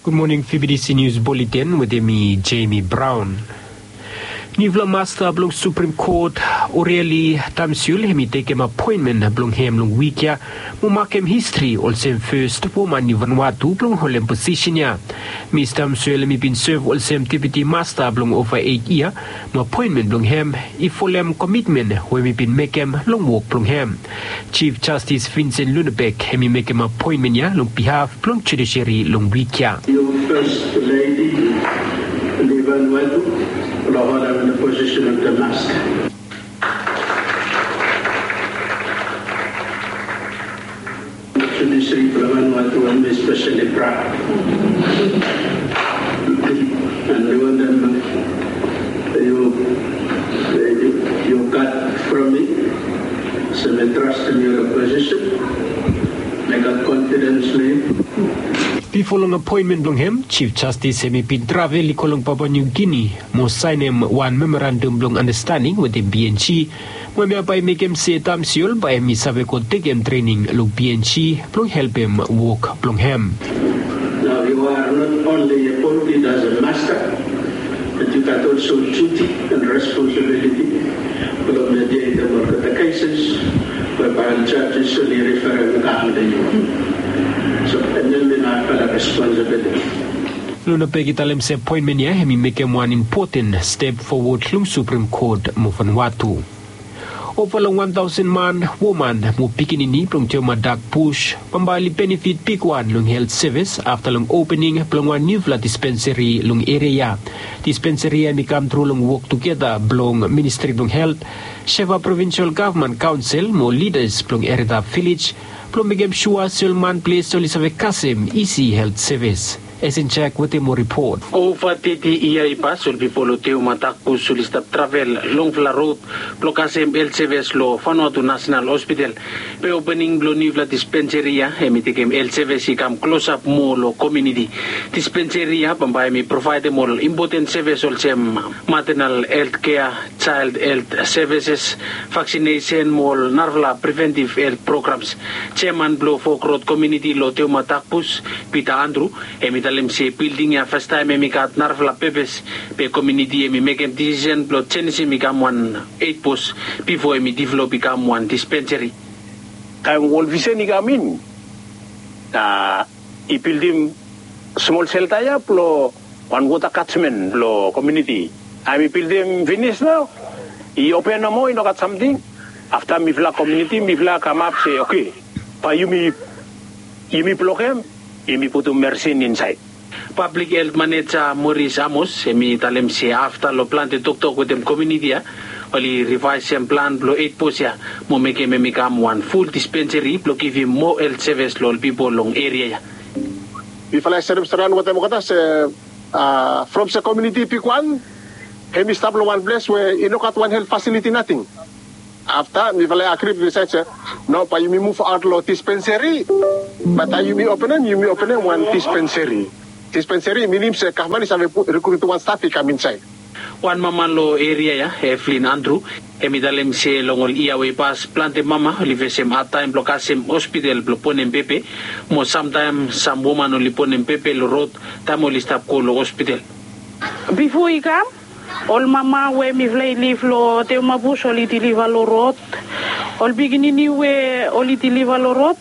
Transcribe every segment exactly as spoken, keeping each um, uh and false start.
Gud moning, fibidisi nius boletin wetem mi, Jemi Braon. Niufala masta blong suprem kot, Oreli Tamsiul, hem i tekem apoenmen blong hem long wik ya, mo makem histri olsem fes woman niufala tu blong holem posisen ya. Mis Tamsiul hem i bin sev olsem deputi masta blong ova eit yia, mo apoenmen blong hem i folem komitmen we hem i bin mekem long wok blong hem. Chief Justice Vincent Lunabek hem i mekem apoenmen ya long bihaf blong judisiari long wik ya. Your First Lady, Livan Watu, Lahoda, in the position of the master. Judiciary, Livan Watu, I'm especially proud. And we want them, you, you, you got from me, so me trust in your position. Bifo long apoenmen blong hem, Chief Justice hem i bin travel i go long Papua New Guinea mo saenem wan memorandum blong andastaning wetem B N G, mo hem ya bae i mekem se Tamsiul bae hem i save go tekem trening long B N G blong helpem wok blong hem. Now you are not only appointed as a master, but you got also duty and responsibility blong mediatem olgeta cases whereby judges oli referem i kam long yu. So, and then we have a responsibility. Lunabek i talem se apoenmen ya hem i mekem wan impoten step fowod long Suprem Kot mo Vanuatu. Ova long wan taosen man, woman mo pikinini blong Teoma Dak Bus bambae oli benefit bigwan long helt sevis afta long opening blong wan niufala dispensari long eria ya. Dispensari ya hem i kam tru long wok tugeta blong Ministri blong Helt, Shefa Provinsel Gavman Kaonsel mo lidas blong Erida Vilej blong mekem sua se ol man ples oli save kasem isi helt sevis. Esenjak wetem moa ripot. Ova teti yia i pas ol pipol long Teoma Dak Bus oli stap travel longfala rod blong kasem helt sevis long Vanuatu Nasenal Hospital. Be opening blong niufala dispensari ya hem i tekem helt sevis i kam klosap moa long komuniti. Dispensari ya bambae hem i provaedem ol impoten sevis olsem matenal helt kea, jael helt sevises, vaksinesen mo ol narafala preventiv helt programs. Jeaman blong Fok Rod komuniti long Teoma Dak Bus, Pita Andru, hem i talem se bilding ya fastaem hem i gat narafala pepes, be komuniti hem i mekem disisen blong jenisim i kam wan eit bos bifo hem i develop i kam wan dispensari. Taem World Vision i kam in, a, i bildim smol selta ya blong wan wota katjmen blong komuniti. Taem i bildim finis nao, i open nomo, i no gat samting. Afta mifala komuniti mifala kamap se, oke, bae yumi, yumi blokem, yumi putum mersin insaed. Pablik helt maneja Moris Amos hem i talem se afta long plante toktok wetem komuniti ya, oli rivaesem plan blong eit bos ya mo mekem hem i kam wan ful dispensari blong givim moa helt sevis long ol pipol long eria ya. Mifala i serem straon wetem olgeta se, a, from se komuniti bigwan hem i stap long wan ples we i no gat wan helt fasiliti nating. Afta mifala i agri, wi disaed se, no, bae yumi muvaot long dispensari. Be taem yumi openem, yumi openem wan dispensari. Dispensari i minim se gavman i save pu-, rekrutim wan staf i kam insaed. Wan mama long eria ya, Evelyn Andru, hem i talem se long ol yia we i pas plante mama oli fesem adtaem blong kasem hospital blong bonem bebi, mo samtaem sam woman oli bonem bebi long rod taem oli stap go long hospital. Bifo i kam, ol mama we mifala i lif long Teoma Bus oli diliva long rod. Ol pikinini we oli diliva long rod,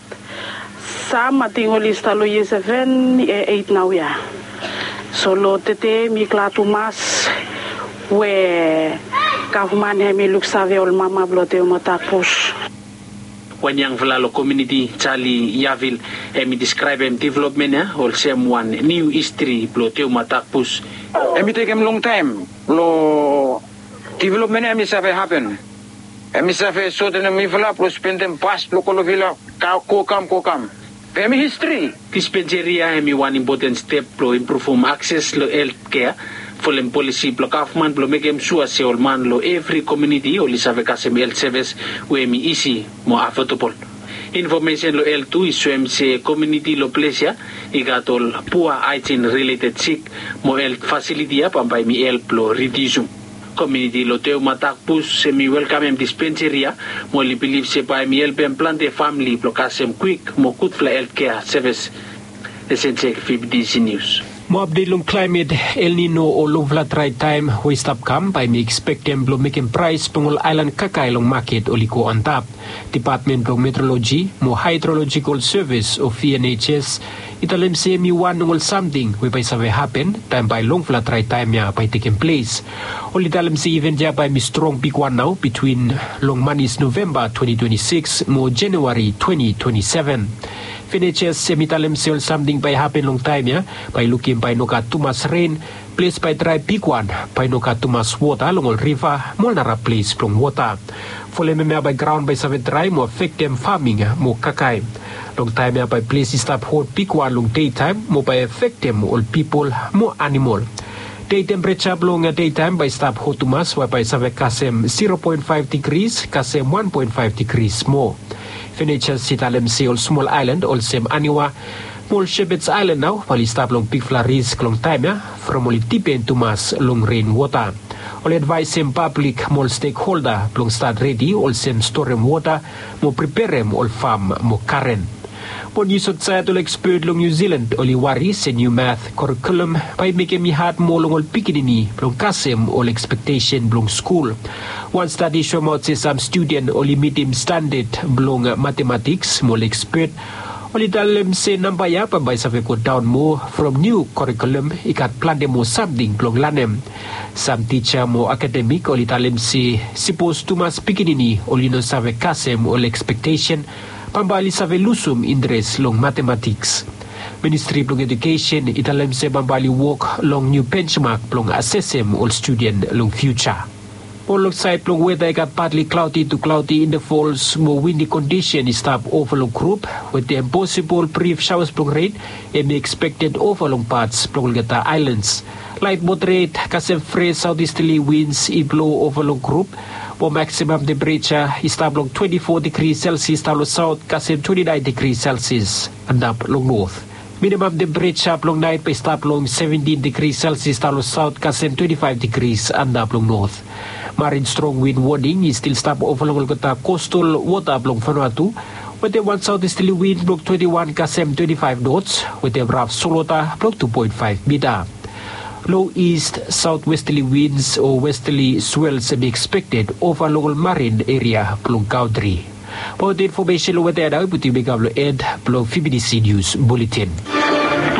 sam ating oli stap long yia seven, yia eit naoia. So long tede mi glad tumas we gavman hem i luksave ol mama blong Teoma Dak Bus. Wan yangfala long komuniti, Jali Yavil, hem i deskraebem developmen ya olsem wan niu histri blong Teoma Dak Bus. Hem i tekem longtaem blong developmen ya hem i save hapen. Hem i save sotenem mifala blong spendem bas blong Kolovila, ka-, go kam, go kam. Be hem i histri. Dispensari ya hem i wan impoten step blong impruvum akses long helt kea, folem polisi blong gavman blong mekem sua se ol man long evri komuniti oli save kasem helt sevis we hem i isi mo afodabol. Infomesen long helt tu i soem se komuniti long ples ya i gat ol pua haejin rileted sik, mo helt fasiliti ya bambae hem i help blong ridiusum. Komuniti long Teoma Dak Bus hem i welkamem dispensari ya, mo oli bilif se bae hem i helpem plante famle blong kasem kwik mo gudfala helt kea sevis. Ese jek fifti si nius. Mo apdet long klaemet, El Nino o longfala drae taem we i stap kam bae mi ekspektem blong mekem praes blong ol aelan kakae long maket oli go antap. Depatmen blong Metroloji mo Haedrolojikol Sevis o V N H S i talem se hem i wan long ol samting we bae i save hapen taem bae longfala drae taem ya bae i tekem ples. Oli talem se iven ya bae hem i strong bigwan nao bitwin long manis Novemba twenti twenti sikis mo Januari twenti twenti seven. V N H S hem i talem se ol samting bae i hapen long taem ya, bae i lukim bae i no gat tumas ren, ples bae i drae bigwan, bae i no gat tumas wota long ol riva mo ol nara ples blong wota. Folem hemia bae graon bae i save drae mo afektem faming mo kakae. Long taem ya bae ples i stap hot bigwan long dei taem mo bae afektem ol pipol mo anamol. Dei tempereja blong dei taem bae i stap hot tumas we bae i save kasem zero poen faef digris kasem wan poen faef digris moa. Venetias i talem se ol smol aelan olsem Aniwa mo ol Shepherds Island nao bae oli stap long bigfala risk long taem ya from oli dipen tumas long ren wota. Oli advaesem pablik mo ol stekholda blong stat redi olsem storem wota mo preperem ol fam mo garen. Mo nius aotsaed, ol ekspet long Niu Silan oli wari se niu math korikulum bae i mekem i had moa long ol pikinini blong kasem ol ekspektesen blong skul. Wan stadi i soemaot se sam studen oli mitim standad blong matematiks mo ol ekspet oli talem se namba ya bambae i save godaon moa from niu korikulum i gat plante moa samting blong lanem. Sam tija mo akademik oli talem se sipos tumas pikinini oli no save kasem ol ekspektesen, bambae oli save lusum interes long matematiks. Ministri blong Ejukesen i talem se bambae oli wok long niu benjmak blong asesem ol studen long fiuja. Mo long saed blong weta i gat patli klaodi tu klaodi, intefols mo windi kondisen i stap ova long grup wetem posibol brif saoas blong ren. Hem i ekspekted ova long pats blong olgeta aelans. Laet moderet kasem fres saotistali wins i blo ova long grup, mo maksimam tempereja i stap long twenti fo digri selsias daon long saot kasem twenti naen digri selsias antap long not. Minimam tempereja blong naet bae i stap long seventin digri selsias daon long saot kasem twenti faef digri antap long not. Marin strong win woning i stil stap ova long olgeta kostal wota blong Vanuatu, wetem wan saotistali win blong twenti wan kasem twenti faef nots wetem raf solwota blong tu poen faef mita. Lo ist saotwestali wins o westali swels hem i ekspekted ova long ol marin eria blong kantri. Bae ol infomesen long weta ya nao i putum i kam long en blong V B T C News Buletin.